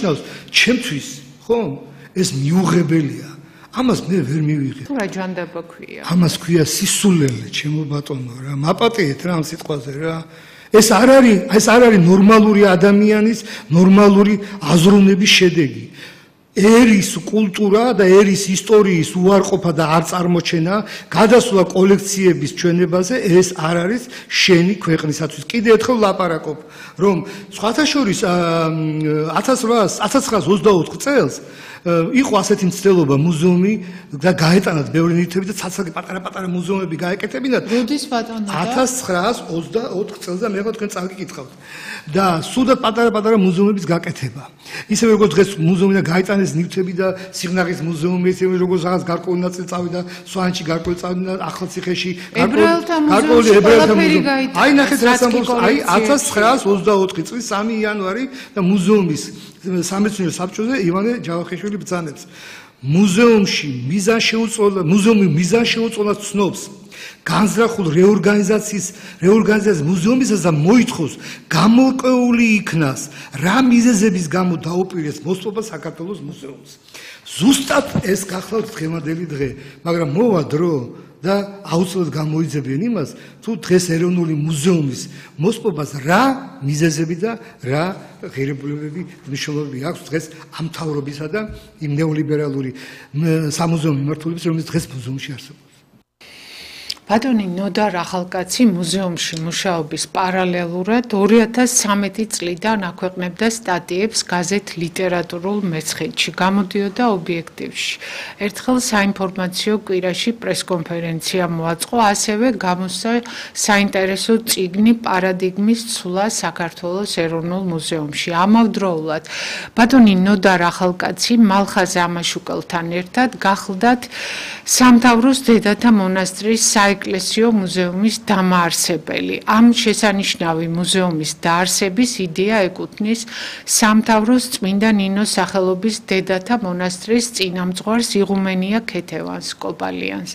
ნიშნავს ჩემთვის, ხო? ეს მიუღებელია. ამას მე ვერ მივიღე. თუ რა ჯანდაბა ქვია? ამას ქვია სისულელე, ჩემო ბატონო რა. მაპატიეთ რა ამ სიტყვაზე რა. ეს არ არის ნორმალური ადამიანის ნორმალური აზროვნების შედეგი. ერის კულტურა და ერის ისტორიის უარყოფა და არ წარმოჩენა, გადასვლა კოლექციების ჩვენებაზე ეს არ არის შენი ქვეყნისათვის. კიდე ერთხელ ლაპარაკობ, რომ სხვათა შორის 1924 წელს იყო ასეთი მცდელობა მუზეუმი და გაეტანათ ბევრი ნივთები და ცალ-ცალკე პატარა-პატარა მუზეუმები გაეკეთებინათ. როდის ბატონო? 1924 წელს და მე ხო თქვენ წავიკითხავთ. და სულაც პატარა-პატარა მუზეუმების გაკეთება. ისევე როგორც დღეს მუზეუმიდან გაეტანეს ნივთები და სიღნაღის მუზეუმი, ისევე როგორც რაღაც გარკვეული ნაწილი წავიდა სვანში, გარკვეული წავიდა ახალციხეში, ებრაელთა მუზეუმი. აი ნახეთ რა ამბობს, აი 1924 წლის 3 იანვარი და მუზეუმის სამეცნიერო საბჭოზე ივანე ჯავახიშვილი ბრძანებს. მუზეუმი მიზან შეუწყვილად ცნობს განზრახულ რეორგანიზაციის მუზეუმისას და მოითხოვს გამორკვეული იქნას რა მიზეზების გამო დაუპირეს მოსპობა საქართველოს მუზეუმს. ზუსტად ეს გახლავთ დღევანდელი დღე, მაგრამ მოვა დრო და აუცილებლად გამოიძებიან იმას, თუ დღეს ეროვნული მუზეუმის მოსპობას რა მიზეზები და რა ღირებულებები მნიშვნელობები აქვს დღეს ამ მთავრობისა და იმ ნეოლიბერალური სამუზეუმო მიმართულების, რომელიც დღეს მუზეუმში არსებობს. ბატონი ნოდარ ახალკაცი მუზეუმში მუშაობის პარალელურად 2013 წლიდან აქვეყნებდა სტატიებს გაზეთ ლიტერატურულ მეცხეთში, გამოდიოდა ობიექტივში. ერთხელ საინფორმაციო კვირაში პრესკონფერენცია მოაწყო, ასევე გამოსცა საინტერესო წიგნი პარადინგმის ცვლა საქართველოს ეროვნულ მუზეუმში. ამავდროულად ბატონი ნოდარ ახალკაცი მალხაზ ამაშუკელთან ერთად გახლდათ სამთავროს დედათა მონასტრის საეკლესიო მუზეუმის დამაარსებელი. ამ შესანიშნავი მუზეუმის დაარსების იდეა ეკუთვნის სამთავროს წმინდა ნინოს სახელობის დედათა მონასტრის წინამძღვარს იღუმენია ქეთევანს კოპალიანს.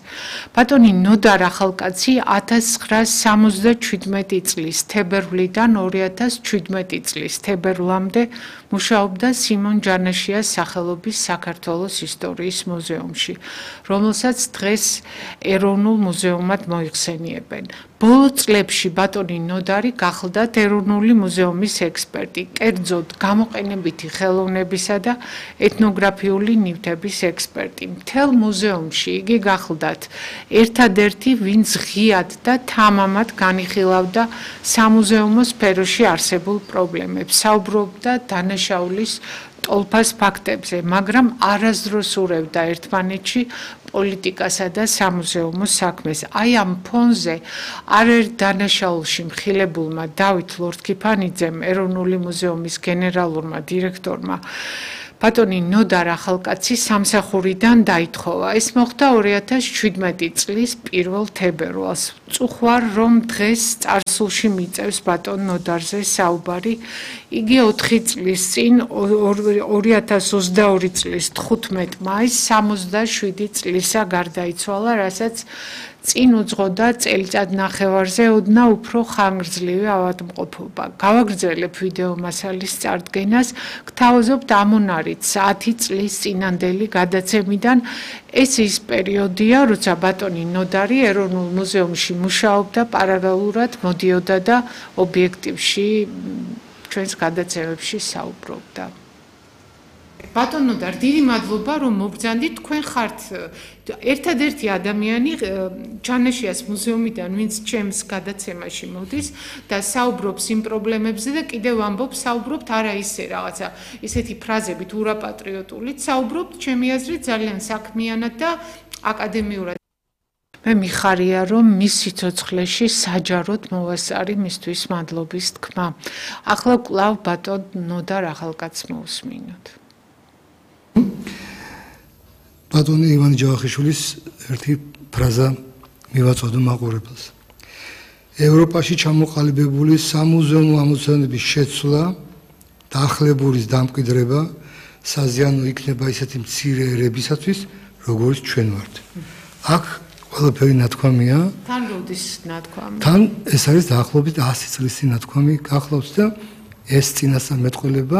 ბატონი ნოდარ ახალკაცი 1977 წლის თებერვლიდან 2017 წლის თებერვლამდე მუშაობდა სიმონ ჯანაშიას სახელობის საქართველოს ისტორიის მუზეუმში, რომელსაც დღეს ეროვნულ მუზეუმად მოიხსენიებენ. ბოლო წლებში ბატონი ნოდარი გახლდათ ეროვნული მუზეუმის ექსპერტი, კერძოდ გამოყენებითი ხელოვნებისა და ეთნოგრაფიული ნივთების ექსპერტი. მთელ მუზეუმში იგი გახლდათ ერთადერთი, ვინც ღიად და თამამად განიხილავდა სამუზეუმო სფეროში არსებულ პრობლემებს, საუბრობდა დანაშაულის ტოლფას ფაქტებზე, მაგრამ არასდროს ურევდა ერთმანეთში პოლიტიკასა და სამუზეუმო საქმეს. აი ამ ფონზე არერთ დანაშაულში მხილებულმა დავით ლორთქიფანიძემ, ეროვნული მუზეუმის გენერალურმა დირექტორმა ბატონი ნოდარ ახალკაცი სამსახურიდან დაითხოვა. ეს მოხდა 2017 წლის 1 თებერვალს. წუხვარ რომ დღეს წარსულში მიწევს ბატონ ნოდარზე საუბარი. იგი 4 წლის წინ 2022 წლის 15 მაისს 67 წლისა გარდაიცვალა, რასაც წინ უძღოდა წელიწად ნახევარზე ოდნა უფრო ხანგრძლივი ავადმყოფობა. გავაგრძელებ ვიდეო მასალის წარდგენას, გთავაზობთ ამონარით 10 წლის წინანდელი გადაცემიდან. ეს ის პერიოდია, როცა ბატონი ნოდარი ეროვნულ მუზეუმში მუშაობდა, პარალელურად მოდიოდა და ობიექტივში ჩვენს გადაცემებში საუბრობდა. ბატონ ნოდარ, დიდი მადლობა რომ მობრძანდით. თქვენ ხართ ერთადერთი ადამიანი ჯანაშიას მუზეუმიდან, ვინც ჩემს გადაცემაში მოდის და საუბრობს იმ პრობლემებზე და კიდევ ამბობს, საუბრობთ არა ისე რაღაცა ისეთი ფრაზებით ურაპატრიოტულით, საუბრობთ ჩემი აზრით ძალიან საქმიანად და აკადემიურად. მე მიხარია რომ მის სიცოცხლეში საჯაროდ მოვასწარი მისთვის მადლობის თქმა. ახლა კვლავ ბატონ ნოდარ ახალკაცს მოვუსმინოთ. ბატონი ივანე ჯავახიშვილის ერთი ფრაზა მივაწოდო მაყურებელს. ევროპაში ჩამოყალიბებული სამუზეუმო ამოცანების შეცვლა, დაახლებულის დამკვიდრება საზიანო იქნება ისეთი მცირე ერებისათვის, როგორც ჩვენ ვართ. აქ ყველაფერი ნათქვამია. თან როდის ნათქვამი? თან ეს არის დაახლოებით 100 წლის ნათქვამი გახლავთ და ეს წინასწარმეტყველება